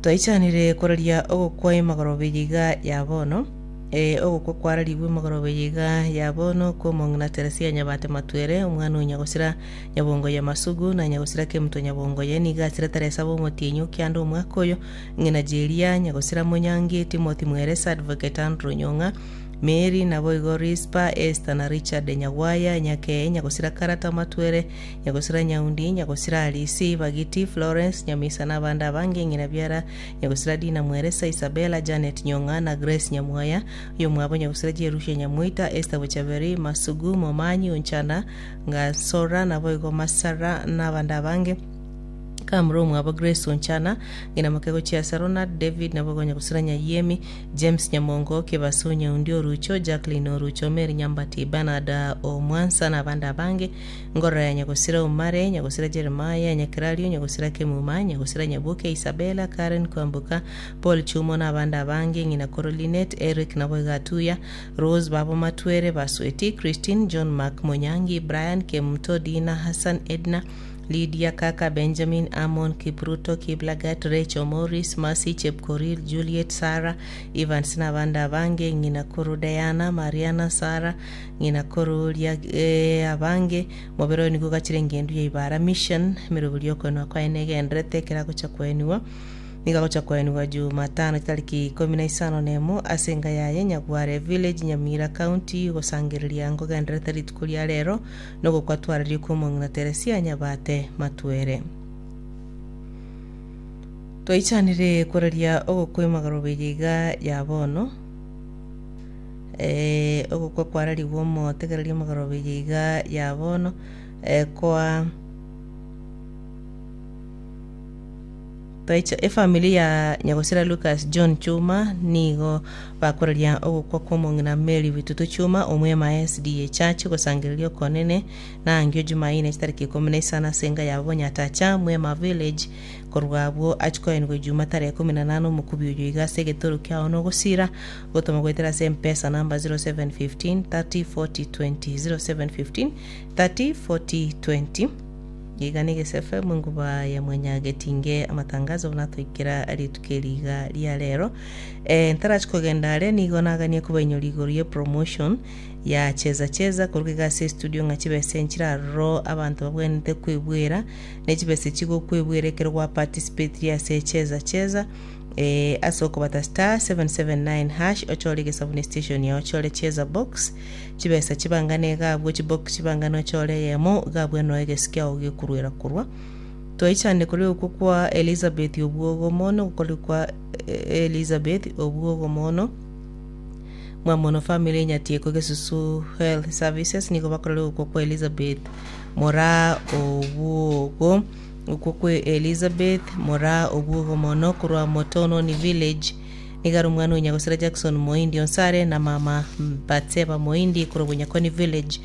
Twaichanire koraria ogokwa emagoroba eye iga ya bono, ee, ogokwa kwararigwe emagoroba eye iga ya bono kw'omong'ina Teresia Nyabate Matwere, omwana o Nyagosira Nyabongoye Masugu, na Nyagosira Kemuto Nyabongoye, nigo asire tarehe saba omotienyi o kianda omwaka oyo, ng'ina Jeria Nyagosira Monyangi, Timothy Mweresa, Advocate Andrew Nyong'a, Mary, naboigo Rispa, Esther na Richard Nyagwaya, Nyakee, Nyagosira Karata Matwere, Nyagosira Nyaundi, Nyagosira Alisi, Bagiti, Florence, Nyamisa na abande abange, ng'ina biara Nyagosira Dina Mweresa, Isabella, Janet Nyong'a na Grace Nyamwaya, oyomwabo Nyagosira Jerusha Nyamoita, Esther Bochaberi, Masugu, Momanyi, Onchana, Ngasora, naboigo Masara na abande abange. Kamura omwabo Grace Onchana, ng'ina moke gochia ase Ronald, David, naboigo Nyagosira Nyayiemi, James Nyamongo, Kebaso Nyaundi Orucho, Jacqueline Orucho, Mary Nyambati, Bernard Omwansa na abande abange. Ngorora ya nyagosira Omare, nyagosira Jeremiah, Nyakerario, nyagosira Kemuma, nyagosira Nyaboke, Isabella, Karen Kwamboka, Paul Chumo na abande abange, ng'ina koro Linet, Eric naboigo Atuya, Rose babo Matwere, Basweti, Christine, John Mark Monyangi, Brian, Kemunto, Dina, Hassan, Edna, Lydia, Kaka, Benjamin, Amon, Kipruto, Kiplagat, Rachel, Maurice, Mercy, Chepkorir, Juliet, Sarah, Evans na abande abange, ng'ina koro Diana, Mariana, Sarah, Ng'ina kororia abange, mobere oyo nigo ogachire engendu ya Ibara Mission, emeroberi y'okoenwa kwaye negendererete ekero agocha koenigwa. Nigo agocha koenigwa Jumatano chitariki ikomi na isano na emo ase enka yaye Nyagware Village, Nyamira County, gosangereria nkogendererete rituko ria rero nogokwa twararie kw'omong'ina Teresia Nyabate Matwere. Twaichanire koraria ogokwa emagoroba eye iga ya bono. Ogokwa kwararigwe omotegereria omogoroba eye iga ya bono, koa Twaicha efamiri ya nyagosira Lucas John Chuma nigo bakoraria ogokwa kw'omong'ina Mary Bitutu Chuma omwema SDA Church gosangereria okonene na angio Jumaine chitariki ikomi na isano ase enka yabo Bonyatacha Mwema Village korwa abwo achia koenigwa Ijuma tarehe ikomi na nane omokubi oyo iga ase egetoro kiao nogosira Gotoma goetera ase M-Pesa namba 0715 30 40 20 0715 30 40 20 Iga na Egese FM enguba ya mwanyagetinge amatangazo buna toikera rituko eri iga ria rero. Eh, ntarachi kogenda are nigo naganie kobainyora igoro ye promotion ya cheza cheza koruga iga ase estudio ng'a chibesa nchire aroro abanto babwenerete kwebwera ne chibesa chigokwebwera ekero gwa participatire ase cheza cheza Ee, ase okobata *779# ochore egesabu ne station yao ochore cheza box chibesa chibangane iga abwo chibox chibangane ochore eyemo iga abwo noe egesi kiao gekorwera korwa twaichane koria okwo kwa Elizabeth obwogo mono gokoria kwa Elizabeth obwogo mono Mwamono family Nyatieko Gesusu Health Services nigo bakorera okwo kwa Elizabeth Moraa obwogo Okwo kwe Elizabeth, moraa obwogo mono korwa Motononi Village, nigo are omwana o Nyagosira Jackson Moindi Onsare na mama Batseba Moindi korwa Bonyakoni Village,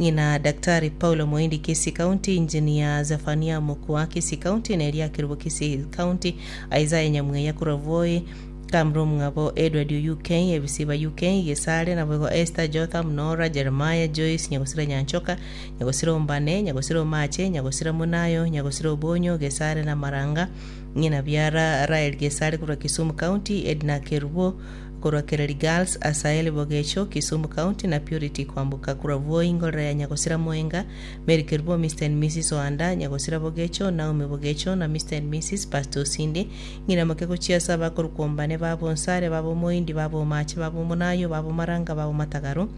ng'ina Daktari Paulo Moindi Kisii County, Engineer Zephania Mokua Kisii County na Elia Kerubo Kisii County, Isaiah Nyamweya korwa Voi, Kamru omwabo Edward o UK, Ebisiba UK, Gesare, naboigo Esther, Jotham, Nora, Jeremiah, Joyce, Nyagosira Nyanchoka, Nyagosira ombane, nyagosira omache, nyagosira monayo, nyagosira obonyo, gesare na maranga, ng'ina biara Rael Gesare korwa Kisumu County, Edna Kerubo korwa Kereri Girls, Asael Bogecho, Kisumu County, na Purity Kwamboka korwa Voi, Ngorera ya Nyagosira Moenga, Mary Kerubo, Mr and Mrs Oanda, Nyagosira Bogecho, Naomi Bogecho, na Mr and Mrs Pastor Osinde, ng'ina moke gochia ase abakorokwa ombane, baba Onsare, baba Omoindi, baba Omache, baba Omonayo, baba Omaranga, baba Omatagaro,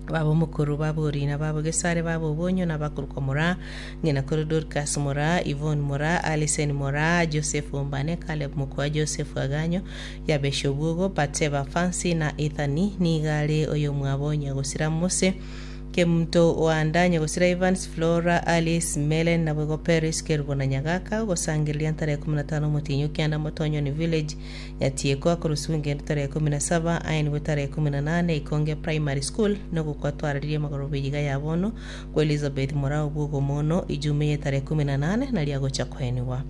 Baba omokoro, baba orina, baba gesare, baba obonyo, na abakorokwa Moraa, ng'ina kore Dorcas Moraa, Yvonne Moraa, Alison Moraa, Joseph Ombane, Caleb Mokoa, Joseph Aganyo, Yabesh Obwogo, Batseba Fancy, na Ethani, nigo are oyomwabo nyagosira Mose, Kemunto Oanda, nyagosira Evans, Flora, Alice, Melen, naboigo Peris, Kerubo na Nyagaka, ogosangereria ntare ikomi na tano omotienyi o kianda Motonyoni Village, Nyatieko akorusigwa engendo tarehe ikomi na saba, aenigwe tarehe ikomi na nane Ikonge Primary School, nogokwa twararirie amagoroba eyiga ya bono kwa Elizabeth Morao bw'ogomono Ijumaa eye tarehe ikomi na nane nario agocha koenigwa.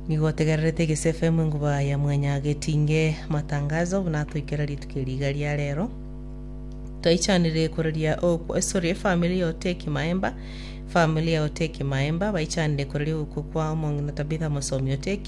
Nigo otegererete Egese FM enguba ya Mwanyagetinge matangazo buna atoikera rituko eri iga ria rero. Twaichanire koraria okwo sorry efamiri ya Oteki Maemba Family ya Oteki Maemba baichanire koraria ogokwa kwa omong'ina Tabitha Mosomi Oteki.